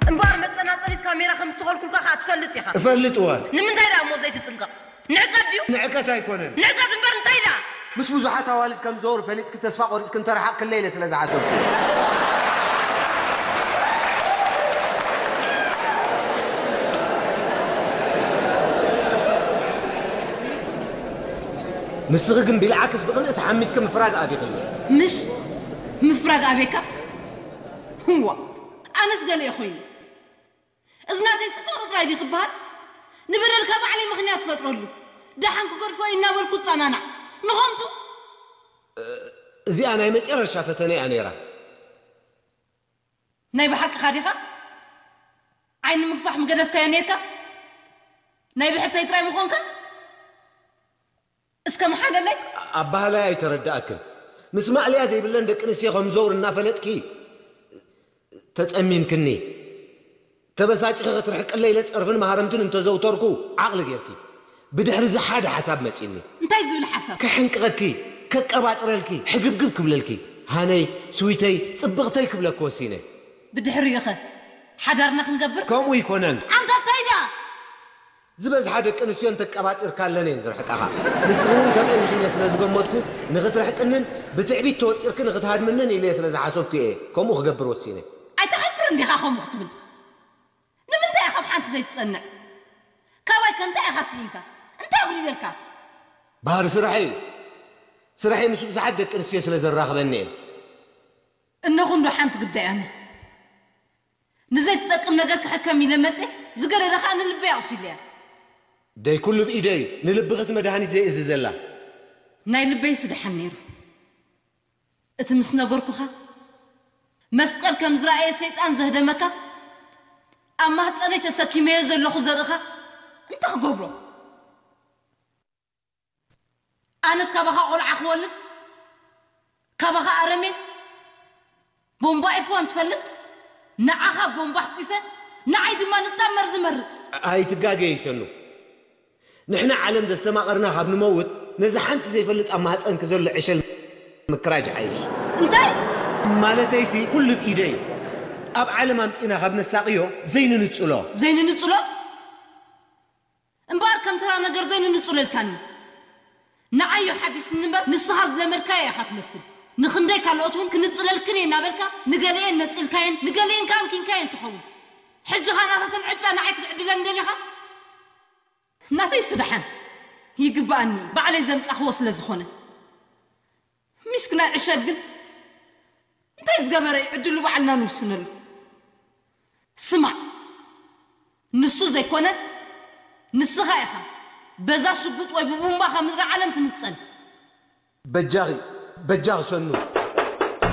እምበኣር መጸናጸሊት ካሜራ ከም ዝተኸልኩልካ ከኣ ትፈልጥ ኢኻ። እፈልጥ እወ። ንምንታይ ደኣ እሞ ዘይትጥንቀቕ? ንዕቀት ድዩ? ንዕቀት ኣይኮነን። ንዕቀት እምበር እንታይ ደኣ? ምስ ብዙሓት ኣዋልድ ከም ዝዘውር ፈሊጥኪ ተስፋ ቆሪጽኪ እንተረሓቕክለይ ኢለ ስለ ዝሓሰብኩ። ንስኺ ግን ቢልዓክስ ብቕንኢ ተሓሚስኪ ምፍራግ ኣቢኽኒ። ምሽ ምፍራግ ኣቤካ? ህዋ ኣነስ ገለ እየ ኮይኑ። እዚ ናተይ ፍቕሪ ጥራይ ድዩ ክበሃል? ንበደልካ ባዕለይ ምኽንያት ትፈጥረሉ። ደሓን ክገድፎ እዩ እናበልኩ እጸናናዕ። ንኸንቱ። እዚኣ ናይ መጨረሻ ፈተነ እያ ነይራ። ናይ ብሓቅኻ ዲኻ? ዓይኒ ምግፋሕ ምገደፍካዮ ነይርካ? ናይ ብሕተይ ጥራይ ምኾንካ? እስከ መሓለለይ። ኣባህላይ ኣይተረድኣክን። ምስ ማእለያ ዘይብለን ደቂ ኣንስትዮ ከም ዘውር እናፈለጥኪ ተጸሚምክኒ። ተበሳጭኺ ክትርሕቅለይ ኢለ ጸርፍን ማህረምትን እንተዘውተርኩ ዓቕሊ ጌርኪ። ብድሕሪ እዚ ሓደ ሓሳብ መጺኒ። እንታይ ዝብል ሓሳብ? ከሕንቅቐኪ፣ ከቀባጥረልኪ፣ ሕግብግብ ክብለልኪ። ሃነይ፣ ስዊተይ፣ ጽብቕተይ ክብለኪ ወሲነ። ብድሕሪኡ ኸ ሓዳርና ክንገብር? ከምኡ ይኮነን። ኣንታ እንታይ ደኣ? ዝበዝሓ ደቂ ኣንስትዮ እንተቀባጢርካለን እየን ዝርሕቃኻ። ንስኺ እውን ከምአን ኢኺ ኢለ ስለ ዝገመትኩ፣ ንኽትርሕቅንን ብትዕቢት ተወጢርኪ ንኽትሃድምንን ኢለ ስለ ዝሓሰብኩ እየ ከምኡ ክገብር ወሲነ። ኣይትሓፍርን ዲኻ ከምኡ ክትብል? ንምንታይ ኢኻ ኣብ ሓንቲ ዘይትጸንዕ? ካባይ ከ እንታይ ኢኻ ስኢንካ? እንታይ ኣጉዲለልካ? ባህሪ ስራሐይ እዩ። ስራሐይ ምስ ብዙሓት ደቂ ኣንስትዮ ስለ ዘራኽበኒ እየ። እነኹ እንዶ ሓንቲ ግዳይ ኣነ ንዘይትጠቅም ነገር ክሕከም ኢለ መጽየ፣ ዝገደደ ኸኣ ንልበይ ኣቑሲለያ። ደይ ኩሉ ብኢደይ፣ ንልብኽስ መድሃኒት ዘይእዝዘላ። ናይ ልበይስ ደሓን ነይሩ። እቲ ምስ ነገርኩኻ፣ መስቀል ከም ዝረኣየ ሰይጣን ዘህደመካ፣ ኣብ ማህጸነይ ተሰኪመዮ ዘለኹ ዘርእኻ እንታይ ክገብሮ? ኣነስ ካባኻ ቆልዓ ክወልድ? ካባኻ ኣረሜን? ቦምባ ኤፍ ዋን ትፈልጥ? ንዓኻ ቦምባ ኣሕቂፈ፣ ንዓይ ድማ ንጣመር ዝመርጽ። ኣይትጋገይ ሰኑ። ንሕና ዓለም ዘስተማቐርና ካብ ንመውት፣ ነዚ ሓንቲ ዘይፈልጥ ኣብ ማህጸንኪ ዘሎ ዕሸል ምክራጅ ሓይሽ። እንታይ? ማለተይሲ ኩሉ ብኢደይ። ኣብ ዓለም ኣምጺና ካብ ነሳቕዮ ዘይንንጽሎ። ዘይንንጽሎ? እምበኣር ከም ተራ ነገር ዘይንንጹለልካኒ። ንዓዮ ሓዲስኒ እምበር ንስኻ ዝለመድካዮ ኢኻ ትመስል። ንኽንደይ ካልኦት እውን ክንጽለልክን እየ እናበልካ ንገሊኤን ነጺልካየን ንገሊኤን ከኣ ኣምኪንካየን ትኸውን። ሕጂ ኸኣ ናታተን ዕጫ ንዓይ ክትዕድለኒ ደሊኻ? ናተይስ ደሓን ይግብኣኒ ባዕለይ ዘምጻኽዎ ስለ ዝኾነ። ሚስክናይ ዕሸል ግን እንታይ ዝገበረ እዩ ዕድሉ ባዕልና ንውስነሉ። ስማዕ ንሱ ዘይኮነ ንስኻ ኢኻ በዛ ሽጉጥ ወይ ብቡምባ ካብ ምድሪ ዓለም ትንጸል። በጃኺ በጃኺ ሰኑ